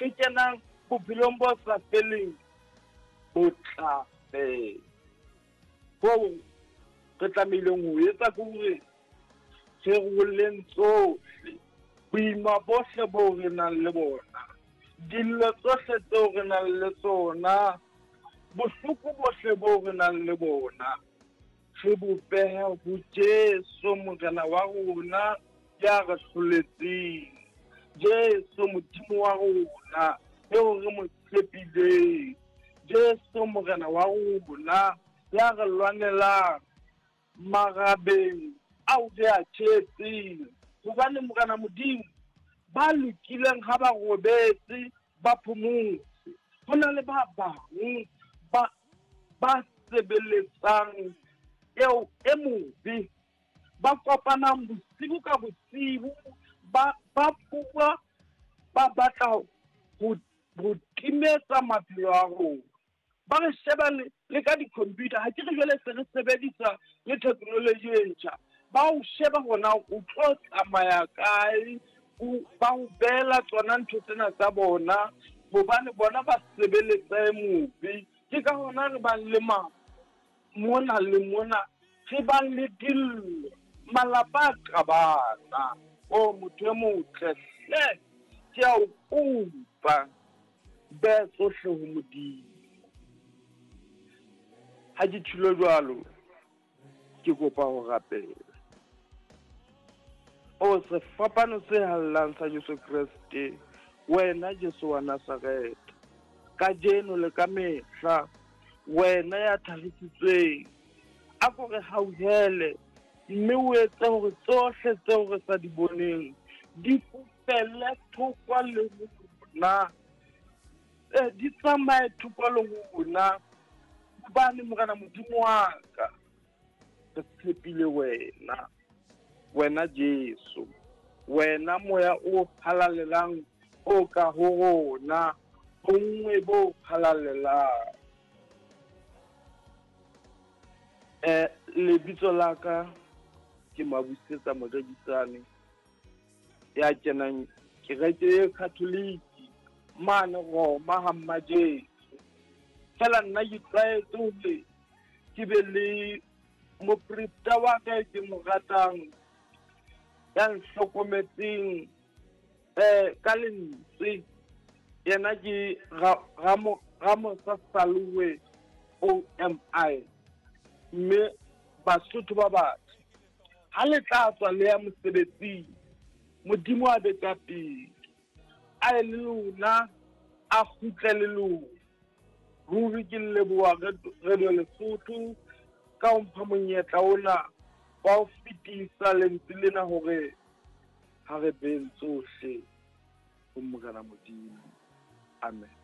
re kenang bophelong bo sa feleng bo tla fela. Hoo re tlamehileng ho etsa ke hore re roleng tsohle, boima bohle boo re nang le bona, dillo tsohle tseo re nang le tsona, bohloko bohle boo re nang le bona, re bo behe ho Jesu Morena wa rona ya re hloletseng. Jesu Modimo wa rona eo re mo tshepileng. Jesu Morena wa rona ya re lwanelang marabeng ao re a tjhetseng. Hobane Morena Modimo, ba lokileng ha ba robetse ba phomotse. Ho na le ba bang ba ba sebeletsang eo e mobe, ba kopanang bosibu ka bosibu, ba ba bua, ba batla ho ho timetsa maphelo a rona. Ba re sheba le ka di-computer. Ha ke re jwale se re sebedisa le technology e ntjha. Ba o sheba hore na o tlo tsamaya kae, ba o beela tsona ntho tsena tsa bona, hobane bona ba sebeletsa e mobe. Ke ka hona re bang le mafu mona le mona, re bang le dillo, malapa a qabana. O motho e motle hle, ke a o kopa, beha tsohle ho Modimo. Ha ke tjhilo jwalo, ke kopa ho rapela. O sefapano se hallang sa Jesu Kreste, wena Jesu wa Nazaretha, kajeno le ka mehla, wena ya thagisitsweng, a ko re hauhele, mme o etse hore tsohle tseo re sa di boneng di fofele thoko le rona, di tsamaye thoko le rona, hobane Morena Modimo wa ka, re tshepile wena, wena Jesu, wena moya o halalelang o ka ho rona, bonngwe bo halalelang. Lebitso la ka ke Mabusetsa Morekisane, ya kenang kereke e Catholic mane Roma ha Mmajesu. Fela nna ke tlwaetse hore ke be le moprista wa ka e ke mo ratang, ya nhlokometseng ka lentswe. Yena ke Ramosa Saloe OMI. Mme Basotho ba batle, ha le tla tswa le ya mosebetsing, Modimo a be ka pele, a ye le lona, a kgutle le lona. Ruri ke leboha Radio Lesotho ka ho mpha monyetla ona wa ho fetisa lentswe lena hore ha re beng tsohle ho Morena Modimo. Amen.